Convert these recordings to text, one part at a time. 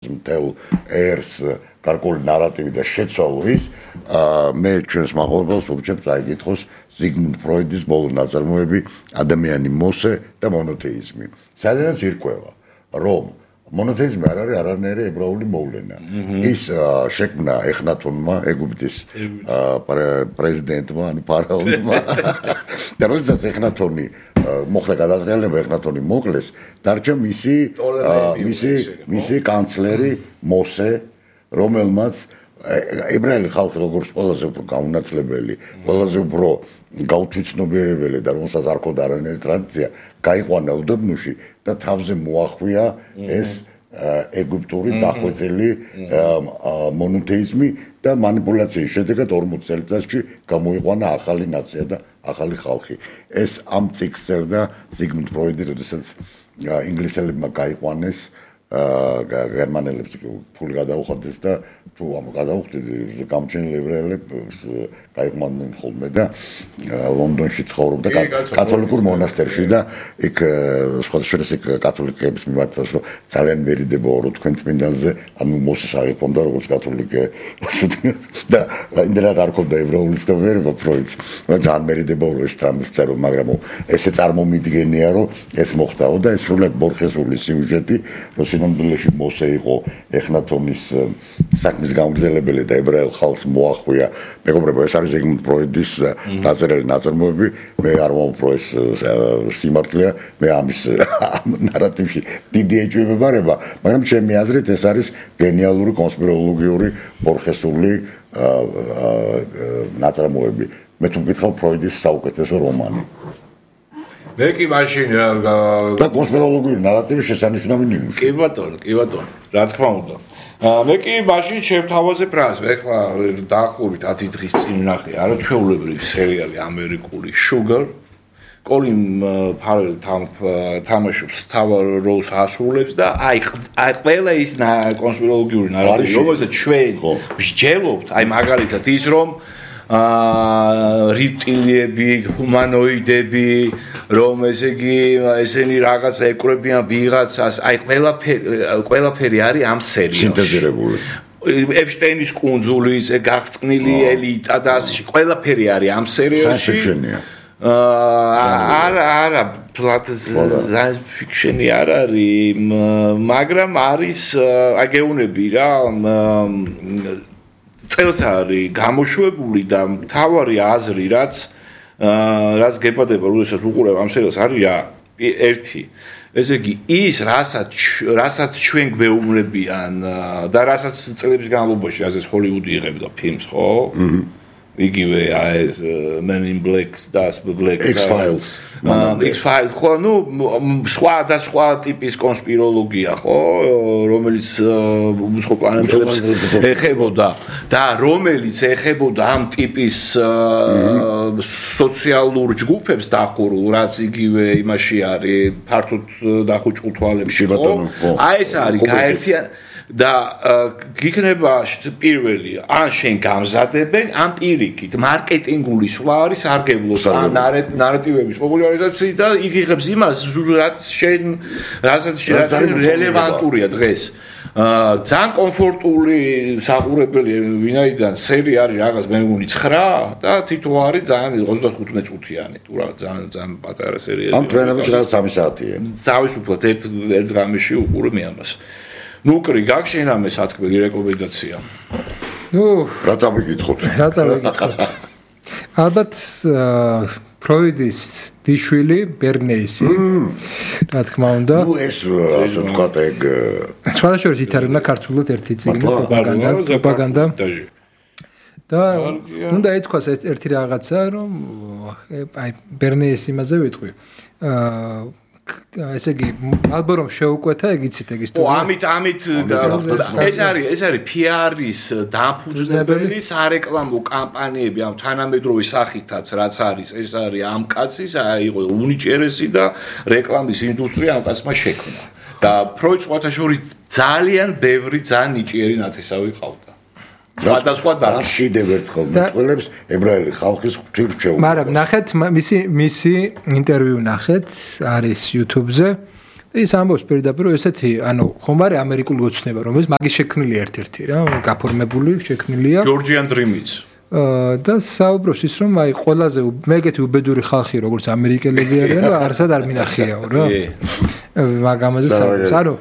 მთელ ერს გარკვეული ნარატივი და შეცვალვის მე ჩვენს მაყურებელს ვურჩებ წაიკითხოს ზიგმუნდ ფროიდის ბოლო ნაწარმოები ადამიანი მოსე და მონოთეიზმი. სადაც ირკვევა რომ მონოთეიზმი არ არის არანაირი ებრაული მოვლენა. ის შექმნა ეხნათონმა ეგვიპტის პრეზიდენტმა ანუ ფარაონმა და როდესაც ეხნათონი მოხდა გადატრიალება ეხნათონი მოკლეს დარჩა მისი კანცლერი მოსე რომელმაც ებრაელი ხალხი როგორც ყველაზე უფრო გაუნათლებელი, ყველაზე უფრო გაუთვითცნობიერებელი და რომელსაც არ ქონდა არანაირი ტრადიცია, გაიყვანა უდაბნოში და თავზე მოახვია ეს ეგვიპტური დახვეწილი მონოთეიზმი და მანიპულაციის შედეგად 40 წელიწადში გამოიყვანა ახალი ნაცია და ახალი ხალხი. ეს ამ წიგნს წერდა ზიგმუნდ ფროიდი, როდესაც ინგლისელებმა გაიყვანეს გერმანელებს ფული გადაუხადეს და თუ ამ გადაუხდით გამჩენილი ებრაელებს გაიყვანენ ხოლმე და ლონდონში ცხოვრობდა კათოლიკურ მონასტერში და იქ სხვადასხვა კათოლიკეების მიმართ რომ ძალიან მერიდებოა რომ თქვენ წმინდანზე ანუ მოსეს აღიქვამდა როგორც კათოლიკე და იმდენად არ ქონდა ებრაული ცნობიერება ფროიდს ძალიან მერიდებოა რომ ეს ტრამპს წერო მაგრამ ესე წარმომიდგენია რომ ეს მოხდაო და ეს სრულად ბორხესული სიუჟეტი რომ სინამდვილეში მოსე იყო ეხნათონის საქმის გამგზელებელი და ებრაელ ხალხს მოახვია მეგობრებო ეს არის ზიგმუნდ ფროიდის დაწერილი ნაწარმოები მე არ მომფრო ეს სიმართლეა მე ამის ნარატივში დიდი ეჭვი მებარება მაგრამ ჩემი აზრით ეს არის გენიალური კონსპიროლოგიური ბორხესული ნაწარმოები მე თუ მკითხავ ფროიდის საუკეთესო რომანი მე კი მაშინ და კონსპიროლოგიური ნარატივის შესანიშნავი ნიმუში კი ბატონო რა თქმა უნდა მე კი მაშინ შევთავაზებ რას მე ხლა დაახლოებით 10 დღის წინ ვნახე არაჩვეულებრივი სერიალი ამერიკული Sugar კოლინ ფარელი თამაშობს თავარ როლს ასრულებს და აი ყველა ის კონსპიროლოგიური ნარატივი რომელსაც ჩვენ ვსჯელობთ აი მაგალითად ის რომ რიპტილიები, ჰუმანოიდები, რომ ესე იგი ესენი რაღაც ეკვრებიან ვიღაცას, აი ყველაფერი არის ამ სერიალში. სინთეზირებული. ეპშტეინის კუნძული, ესე გაღწნილი ელიტა და ასე ყველაფერი არის ამ სერიალში. არა, science fiction-ი არ არის, მაგრამ არის აგეუნები რა წელს არის გამოშვებული და მთავარი აზრი რაც გეპადება როდესაც უყურებ ამ სერიალს არის რა ერთი ესე იგი ის რასაც ჩვენ გვეუბნებიან და რასაც წლების განმავლობაში ასეც ჰოლივუდი იღებდა ფილმს ხო იგივე ეს Men in Black და Black X-Files X-Files ხო ნუ სხვა ტიპის კონსპიროლოგია ხო რომელიც სხვა პლანეტებს ეხებოდა და რომელიც ეხებოდა ამ ტიპის სოციალურ ჯგუფებს დახურულ რაც იგივე იმაში არის ფართოდ დახუჭულ თვალებში ხო აი ეს არის გაერთიან და გიქნება პირველი ან შენ გამზადებენ ან პირიქით მარკეტინგული სვლა არის სარგებლოს ან ნარატივების პოპულარიზაციით და იღებს იმას რასაც რელევანტურია დღეს ძალიან კომფორტული საყურებელი ვინაიდან სერი არის რაღაც მე მგონი 9 და თითო არის ძალიან 35 წუთიანი თუ რა ძალიან პატარა სერიალი ამ თვენებში რაღაც 3 საათია თავისუფლად ერთ ღამეში უყურე მე ამას ნუ კრი გაგშენ ამე სათქმელი რეკომენდაცია. ნუ რა წავიკითხოთ? ალბათ ფროიდის დიშვილი ბერნეისი რა თქმა უნდა. ნუ ეს ასე ვთქვათ ეგ სხვადასხვა ითარებდა ქართულად ერთი წიგნი პროპაგანდა. და უნდა ეთქვას ერთი რაღაცა რომ აი ბერნეის იმაზე ვიტყვი. ესე იგი ალბათ რომ შეუკვეთა ეგიცით ეგ ისტორია. ამით ეს არის PR-ის დამფუძნებელი სარეკლამო კამპანიები ამ თანამედროვე სახითაც რაც არის ეს არის ამ კაცის აი იყო უნიჭერესი და რეკლამის ინდუსტრია ამ კაცმა შექმნა. და ფროიდს სხვათაშორის ძალიან ბევრი ძალიან ნიჭიერი ნათესავი ყავდა. სხვადასხვა დაშიდებ ერთხელ მეტყველებს ებრაელი ხალხის ღვთისმშობლებს. მაგრამ ნახეთ მისი ინტერვიუ ნახეთ არის YouTube-ზე ის ამბობს პირდაპირ რომ ესეთი ხომ არის ამერიკული ოცნება რომელიც მაგის შექმნილი ერთ-ერთი რა გაფორმებული შექმნილია Georgian Dream-იც და საუბრობს ის რომ აი ყველაზე მეგეთი უბედური ხალხი როგორც ამერიკელები არიან და არსად არ მინახიაო რა მაგამაზე საუბრობს ანუ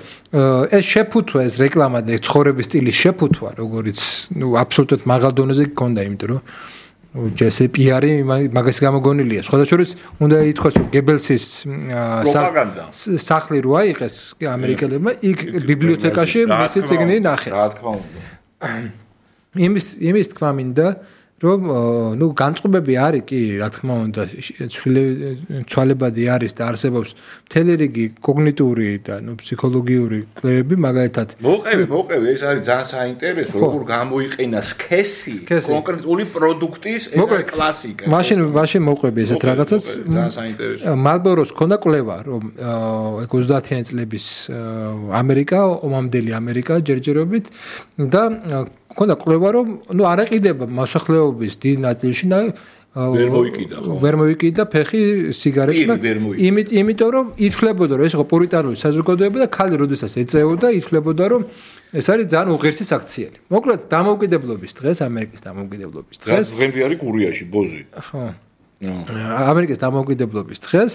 ეს შეფუთვა ეს რეკლამა და ცხოვრების სტილის შეფუთვა როგორც აბსოლუტურად მაღალ დონეზე გქონდა იმიტომ რომ ჯესე პიარი მაგას გამოგონილია სხვა შორის უნდა ითქვას რომ გებელსის სახლი რო აიღეს ამერიკელებმა იქ ბიბლიოთეკაში მისი წიგნი ნახეს რა თქმა უნდა იმის თქმა მინდა რომ განწყობები არის კი რა თქმა უნდა ცვალებადი არის და არსებობს მთელი რიგი კოგნიტიური და ფსიქოლოგიური კვლევები მაგალითად მოყევი ეს არის ძალიან საინტერესო როგორ გამოიყენა სქესი კონკრეტული პროდუქტის ეს არის კლასიკა მაშინ მოყვები ესეთ რაღაცას ძალიან საინტერესო მალბოროს ქონდა კვლევა რომ 30-იანი წლების ამერიკა ომამდელი ამერიკა ჯერჯერობით და ქონდა კვლევა რომ არ ეყიდება მოსახლეობის დიდ ნაწილში და ვერ მოიკიდა ფეხი სიგარეტმა იმიტომ რომ ითვლებოდა რომ ეს იყო პურიტანული საზოგადოება და ქალი როდესაც ეწეოდა ითვლებოდა რომ ეს არის ძალიან უღირსი საქციელი მოკლედ დამოუკიდებლობის დღეს ამერიკის დამოუკიდებლობის დღეს დღემდე არის გურიაში ბოზი ხო ამერიკის დამოუკიდებლობის დღეს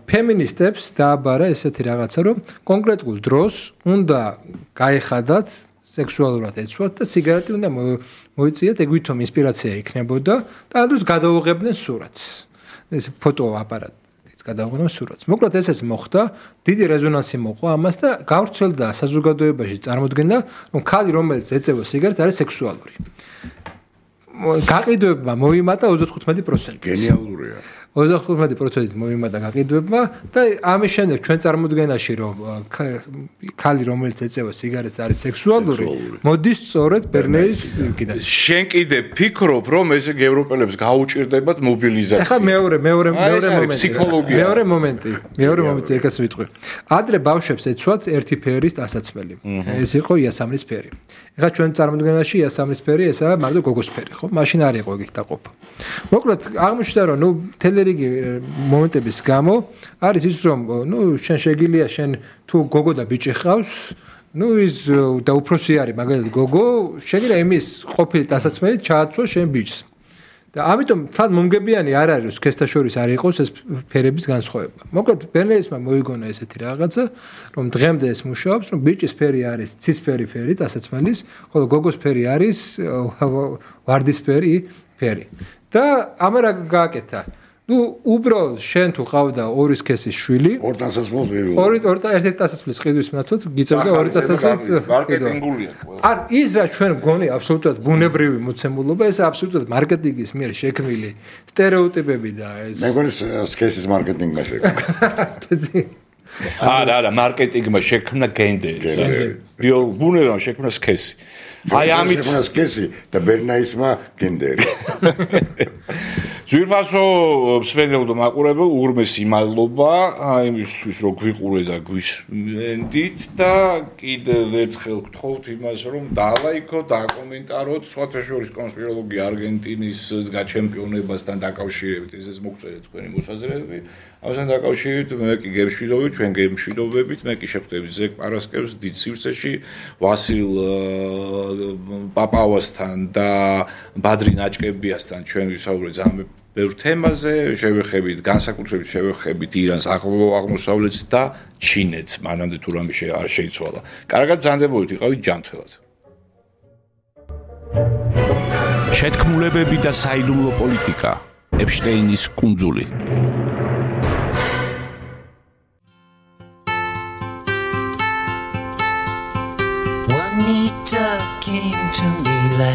ფემინისტებს დააბარა ესეთი რაღაცა რომ კონკრეტულ დროს უნდა გაეხადათ სექსუალურად ეცვათ და სიგარეტი უნდა მოიწიათ, ეგ ვითომ ინსპირაცია იქნებოდა და ამას გადაუღებდნენ სურათს. ეს ფოტოაპარატით გადაუღებდნენ სურათს. მოკლედ ესეც მოხდა, დიდი რეზონანსი მოყვა ამას და გავრცელდა საზოგადოებაში წარმოდგენა, რომ ქალი რომელიც ეწევა სიგარეტს არის სექსუალური. გაყიდვებმა მოიმატა 35%. გენიალურია. 35%-ით მოიმატა გაყიდვებმა და ამის შემდეგ ჩვენ წარმოდგენაში რომ ქალი რომელიც ეწევა სიგარეტს არის სექსუალური მოდის სწორედ ბერნეის კიდე შენ კიდე ფიქრობ რომ ესე ევროპელებს გაუჭირდებათ მობილიზაცია ახლა მეორე მომენტი ფსიქოლოგია მეორე მომენტი ეკას ვიტყვი ადრე ბავშვებს ეცვათ ერთი ფერის დასაცმელი ეს იყო იასამნის ფერი ახლა ჩვენ წარმოდგენაში იასამნის ფერი ესაა მარტო გოგოს ფერი ხო მაშინ არ იყო ეგ დაყოფა მოკლედ აღმოჩნდა რომ თელერიგი მომენტების გამო არის ის რომ შენ შეგილია შენ თუ გოგო და ბიჭი ხავს ის და უფროსი არის მაგალითად გოგო შეგიძლია იმის ყოფილი დასაცმელი ჩააცვა შენ ბიჭს და ამიტომ თან მომგებიანი არ არის სქესთა შორის არ იყოს ეს ფერების განსხვავება მოკლედ ბერნეისმა მოიგონა ესეთი რაღაცა რომ დღემდე ეს მუშაობს რომ ბიჭის ფერი არის ცისფერი ფერი დასაცმელის ხოლო გოგოს ფერი არის ვარდისფერი ფერი და ამერა გააკეთა უბრალოდ შენ თუ ყავდა ორი სქესის შვილი 200-ს ღირული ერთი დასაცმლის ყიდვის მეთოდ გიწევდა 200-ს მარკეტინგულია ან ის რა ჩვენ გონი აბსოლუტურად ბუნებრივი მოცემულობა ეს აბსოლუტურად მარკეტინგის მიერ შექმნილი სტერეოტიპები და ეს მე მგონი სქესის მარკეტინგმა შექმნა სქესი არა მარკეტინგმა შექმნა გენდერი ბუნებამ შექმნა სქესი აი ამით შექმნა სქესი და ბერნაისმა გენდერი ზვირფასო მსმენელ და მაყურებელ უღრმესი მადლობა იმისთვის რომ გვიყურე და გვისმენდით და კიდევ ერთხელ გთხოვთ იმას რომ დალაიქოთ, დაკომენტაროთ სხვათა შორის კონსპიროლოგია არგენტინის გაჩემპიონებასთან დაკავშირებით ესეც მოგწერეთ თქვენი მოსაზრებები ამასთან დაკავშირებით მე კი გემშვიდობებით ჩვენ გემშვიდობებით მე კი შეხვდებით ზეკ პარასკევს დიდ სივრცეში ვასილ პაპავასთან და ბადრი ნაჭკებიასთან ჩვენ ვისაუბრეთ ძალიან ბევრ თემაზე შევეხებით განსაკუთრებით შევეხებით ირანს აღმოსავლეთს და ჩინეთს მანამდე თუ რამე არ შეიცვალა კარგად ბრძანდებოდით იყავით ჯანმრთელად შეთქმულებები და საიდუმლო პოლიტიკა ეპშტეინის კუნძული Juanita came to me last